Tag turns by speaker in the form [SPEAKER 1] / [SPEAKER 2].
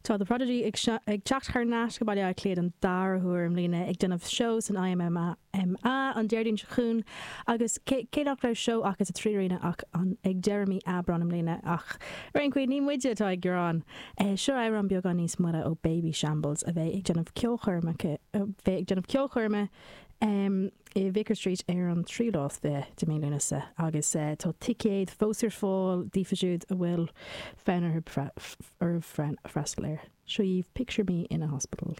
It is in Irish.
[SPEAKER 1] Tá The Prodigy ag teacht thar n-ais go Baile Átha Cliath don dara huair i mbliana ag déanamh seó san IMMA an Déardaoin seo chugainn agus cé nach raibh seó acu sa 3Arena ach an ag deireadh mí Aibreán i mbliana ach ar aon chaoi ní muide atá ag gearán. Seo amhrán beagán níos moille ó Babyshambles a bheidh ag déanamh ceolchoirme a bheidh ag déanamh ceolchoirme i Vicar Street ar an tríú lá is 20 de mí Lúnasa agus tá ticéid fós ar fáil daofa siúd a bhfuil fonn orthu freastal air. Seo dhaoibh Picture Me in a Hospital.